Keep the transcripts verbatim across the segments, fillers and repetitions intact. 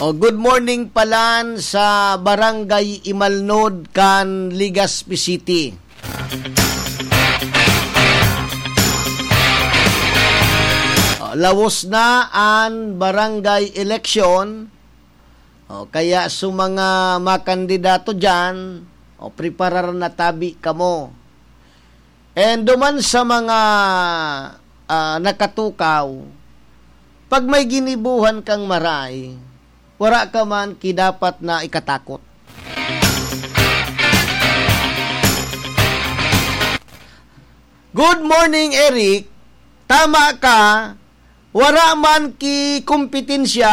O, good morning palan sa Barangay Imalnod kan Legazpi City. O, lawos na an barangay election. O, kaya sa mga makandidato diyan, o, preparar na tabi kamo. And duman sa mga, ah, nakatukaw, pag may ginibohan kang maray, wara ka man ki dapat na ikatakot. Good morning, Eric. Tama ka, wara man ki kompetensya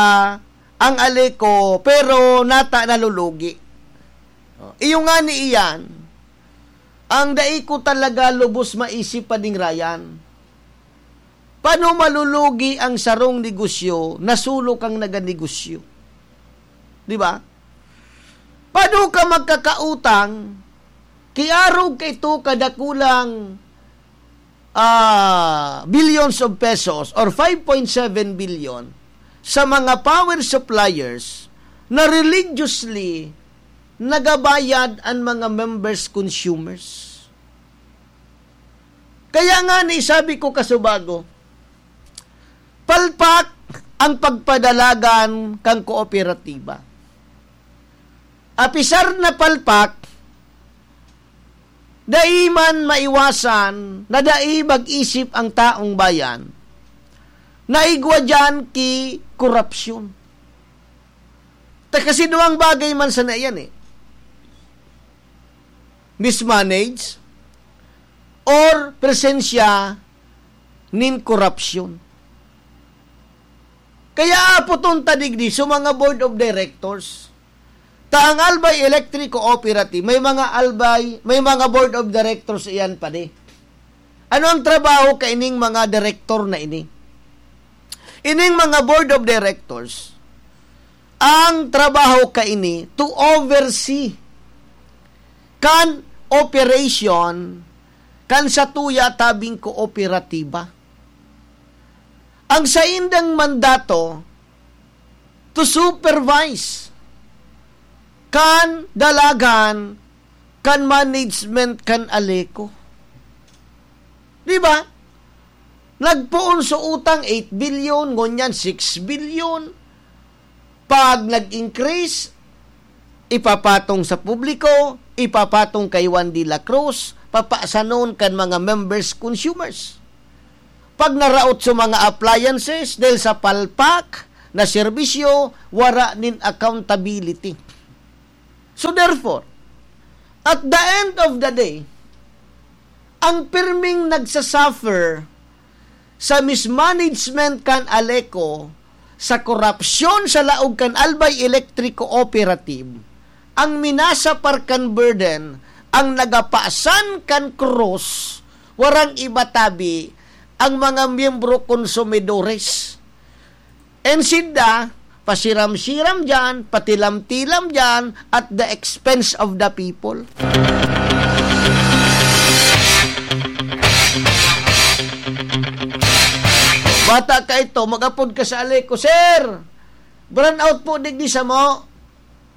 ang Aleco, pero nata nalulugi. Iyo ngani iyan, ang dai ko talaga lubos maisip, Pading Ryan. Paano malulugi ang sarong negosyo na solo kang naganegosyo? Di ba? Paano ka magkakautang, kiarog ka ito kadakulang, ah, billions of pesos or five point seven billion sa mga power suppliers na religiously nagabayad an mga members, consumers? Kaya nga ni sabi ko kasubago, palpak ang pagpadalagan kan kooperatiba. Apisar na palpak, dai man maiwasan na dai mag-isip ang taong bayan na igwa diyan ki korupsyon. Ta kasi duwang bagay man sana iyan eh. Mismanage or presensya nin korupsyon. Kaya apoton ta digdi sa mga board of directors. Ta ang Albay Electric Cooperative, may mga Albay, may mga board of directors iyan pa di. Ano ang trabaho kaining mga direktor na ini? Ining mga board of directors, ang trabaho kaini to oversee kan operation kan satuya tabing kooperatiba. Ang saindang mandato to supervise kan dalagan kan management kan Aleco. Di ba? Nagpoon sa utang eight billion, ngunyan six billion. Pag nag-increase, ipapatong sa publiko, ipapatong kay Juan de la Cruz, papasanon kan mga members, consumers. Pag naraot sa mga appliances dahil sa palpak na serbisyo, wara nin accountability. So therefore, at the end of the day, ang pirming nagsasuffer sa mismanagement kan Aleco, sa korupsyon sa laog kan Albay Electric Cooperative, ang minasapar kan burden, ang nagapasan kan krus, warang iba tabi, ang mga miyembro konsumidores. And sinda, pasiram-siram dyan, patilam-tilam dyan, at the expense of the people. Bata ka ito, mag-apod ka sa Aleco, "Sir, brownout po digdi samo."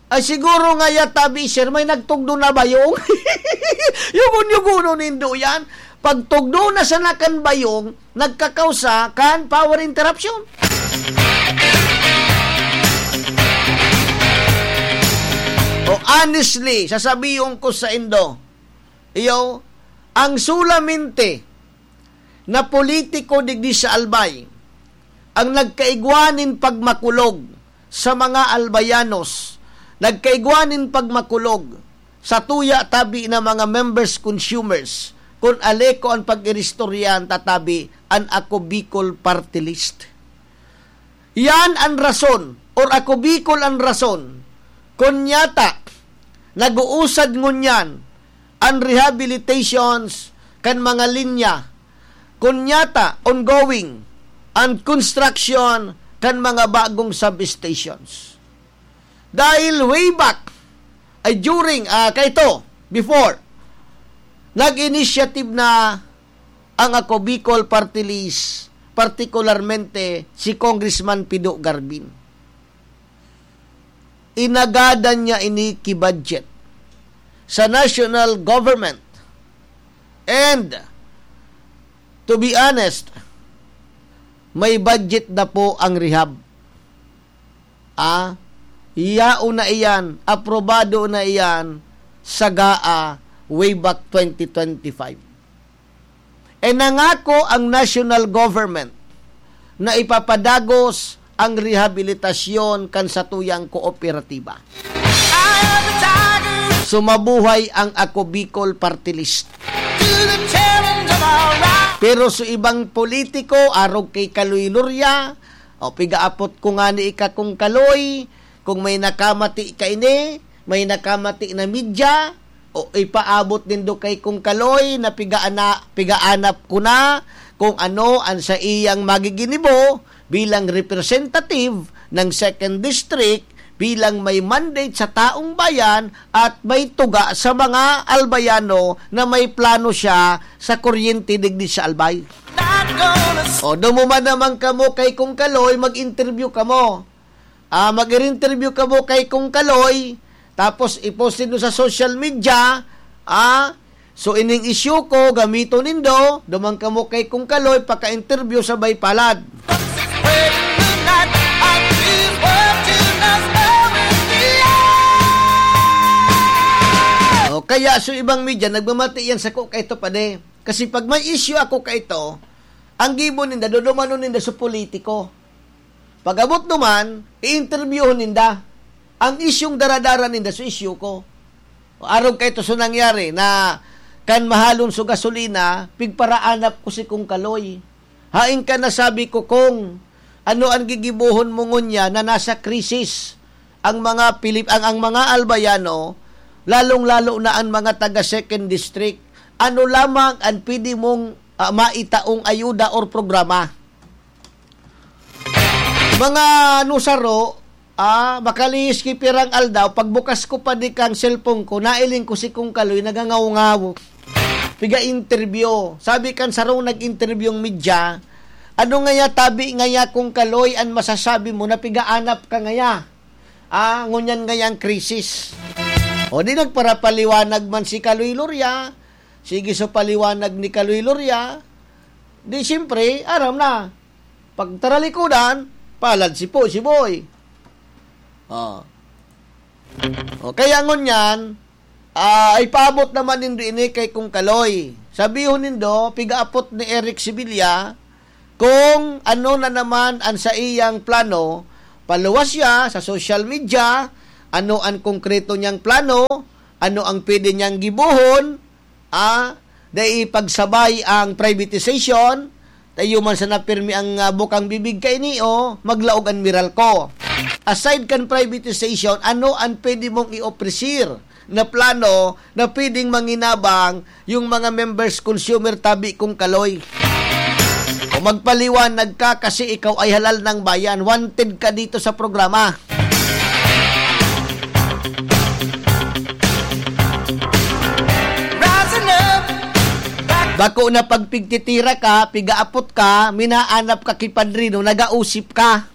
Ay, siguro nga yata, bi, sir, may nagtugdo na bayong. Yugon-yugonon nindo yan. Pag tugdo na sana kan bayong, nagkakausa kan power interruption. O, honestly, sasabihin ko sa indo, iyo, ang solamente na politiko digdi sa Albay, ang nagkaigwa nin pagmakulog sa mga Albayanos, nagkaigwa nin pagmakulog sa tuya tabi na mga members, consumers, kun Aleco an pag-iristoryahan ta tabi an Ako Bicol Party List. Yan an rason, or Ako Bicol an rason, kun yata nag-uusad ngunyan an rehabilitations kan mga linya, kun yata ongoing an construction kan mga bagong substations. Dahil way back, ay during, ah, kaito, before, nag-initiative na ang Ako Bicol Party List, partikularmente si Congressman Pido Garbin. Inagadan niya ini ki budget sa national government. And, to be honest, may budget na po ang rehab. Ah, yaon na iyan, aprobado na iyan sa GAA way back twenty twenty-five. E nangako ang national government na ipapadagos ang rehabilitasyon kan satuyang kooperatiba. Sumabuhay ang Ako Bicol Party List. Pero sa ibang politiko, arog kay Kaloy Loria, o pigaapot ko ngani ika kong Kaloy, kung may nakamati ka ini, may nakamati na media, o ipaabot nindo kay kong Kaloy na pigaana-, pigaanap ko na kung ano ang sa iyang magiginibo bilang representative ng second district, bilang may mandate sa taong bayan at may tuga sa mga Albayano na may plano siya sa kuryente digdi sa Albay. O, dumuman naman kamo kay kong Kaloy, mag-interview kamo. Ah, mag-interview kamo kay kong Kaloy, tapos i-post nindo sa social media, ah, so ining issue ko, gamiton nindo, duman kamo kay kong Kaloy, paka-interview sabay palad. O, kaya so ibang media, nagmamati yan sa ko kaito, pade. Kasi pag may issue ako kaito, ang gibo ninda, dudumanon ninda sa politiko. Pag-abot duman, i-interviewon ninda. Ang isyung daradara ninda sa isyu ko. Arog kaito so nangyari na kan mahalon so gasolina, pigparaanap ko si Kong Kaloy. Hain ka na, sabi ko, Kong, ano an gigibohon mo ngunyan na nasa krisis ang mga Pilip-, ang, ang mga Albayano, lalong-lalo na ang mga taga Second District? Ano lamang an pwede mong, ah, maitaong ayuda or programa? Mga nusaro, ah, makalihis ki pirang aldaw, pagbukas ko pa di kang cellphone ko, nailing ko si Kong Kaloy nagangaw-ngaw. Piga-interview. Sabi kan sarong nag-interview ang media, "Ano ngaya, tabi ngaya, Kong Kaloy, an masasabi mo na pigaanap ka ngaya? Ah, ngunyan ngayang krisis." O di nagparapaliwanag man si Kaloy Loria, sige sa paliwanag ni Kaloy Loria, di siyempre, aram na. Pagtaralikodan, palad si po, si Boy. Oh. O, kaya ngunyan, ah, ipaabot naman nindo ini kay Kong Kaloy. Sabihon nindo, pigaapot ni Eric Sevilla, kung ano na naman ang sa iyang plano, paluwas siya sa social media, ano ang konkreto niyang plano, ano ang pwede niyang gibohon, ah, dai pagsabay ang privatization, tayo man sana pirmi ang, ah, bukang bibig kaini, o maglaog an Meralco. Aside kan privatization, ano ang pwede mong i-ofrecer na plano na pwedeng manginabang yung mga members, consumer, tabi Kong Kaloy? O magpaliwanag ka kasi ikaw ay halal ng bayan. Wanted ka dito sa programa. Bako na pagpigtitira ka, pigaapot ka, minaanap ka ki padrino, nagausip ka.